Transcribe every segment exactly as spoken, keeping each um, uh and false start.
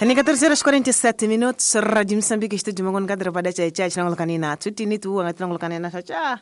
Ni catorze horas quarenta e sete minutos, Rádio Moçambique, estúdio Mangon Kadra Bada Chai Chai, Chinangolkanina, Tutini tu, Angatinangolkanina, Chacha.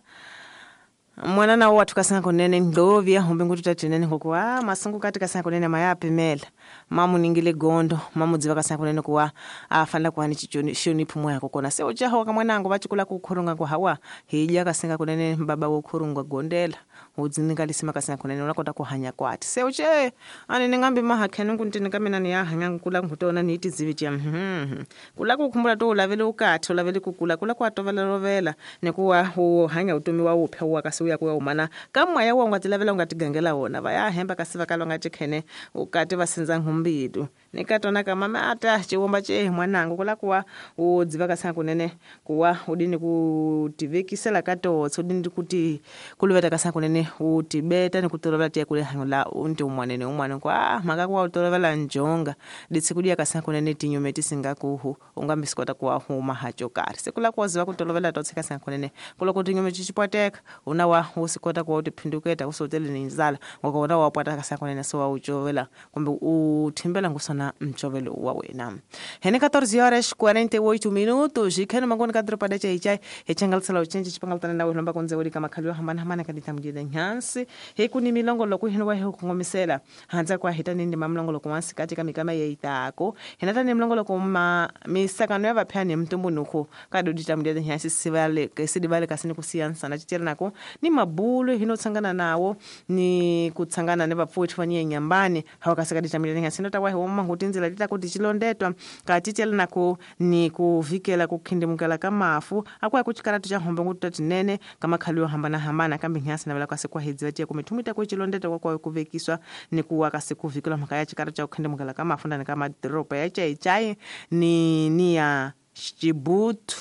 Mwana na watu kasanga kunene ndovya humbe ngutu tatinene ngokuwa masungu kati kasanga kunene mayapimela mamu ningile gondo mamu dziva kasanga kunene kuwa afanda kuhani chichoni shoni pumwe yako kona se uchaho kamwanangu vachikula kukhurunga kwa hawa hija kasanga kunene baba wokhurunga gondela udzininga lisima kasanga kunene unakota kuhanya kwati se uche ani ningambi mahakhenu kuntini kamina ni yahanya kula ngutona ni tizivi tya mhm kula kukhumbula to ulavele ukathi ulavele kukula kula kwatovela rovela nikuwa uhanya utomi wa upya wakasi uya kuya umana kamwaya wa ungatilavela ungatigangela wona vaya hemba kasi vakala ungachikhene ukati vasinza nhumbidu nikatona kamama ata chiwomba che mwanangu kula kuwa udziva kasanga kunene kuwa udini kutivekisela katotso udini kuti kuluveta kasanga kunene utibeta nikutolovela tiya kule hanyo la unti umwanene umwane kwa maka kuwa utolovela njonga ditsi kudiya kasanga kunene tinyume tisingakuhu ungambisikwata kuwa huma hacho kari sekula kuwa ziva kutolovela totse kasanga kunene kula kuti nyume chichipwateka una wa usikota kuwa utiphinduketa usotele ni nzala ngoba wapwata kasanga kunene so wa uchovela kumbe uthimbela ngusona mchovelo wa wena. Hene catorze horas quarenta e oito minutos e kheno mangoni ka dropa da chai chai hechangalisela uchenje chipangaltana nawe lomba konze uri kama khalwa hambana hambana kadita mjida nyansi hekuni milongo loku hino wa hekungomisela hanza kwa hitani ndi mamlongo loku wansi katika mikama yeitako henata ni mlongo loku ma misakano ya vaphani mtumbunuko kadodita mjida nyansi sivale kesidivale kasini kusiyansa na chitela nako ni mabulu hino tsangana nawo ni kutsangana ne vapfuthi vanye nyambani hawakasekadita mjida nyansi ndota wa homa ngutinzela tita kuti chilondetwa katichela nako ni kuvikela kukhindimukela kamafu akwa kuchikaratu cha hombe ngututa tinene kama khaliwa hambana hambana kambi nyasi na vela kwa hedziwa tiya kumithumita kuchilondetwa kwa kuvekiswa ni kuwa kasi kuvikela mhaka ya chikaratu cha kukhindimukela kamafu ndani kama dropa ya chai chai ni ni ya chibutu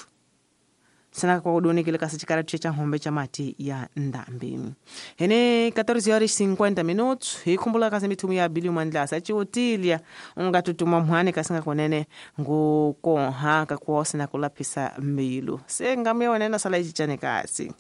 sana kwa kudonikile kasi chikaratu cha hombe cha mati ya ndambi. Hene catorze horas cinquenta minutos ikhumbula kasi mithumu ya Billy Mandlasa chiutilia ungatutuma mhani kasinga konene ngukonha kakuosina kulaphisa mbilu sengamuya wenena sala ichichane kasi.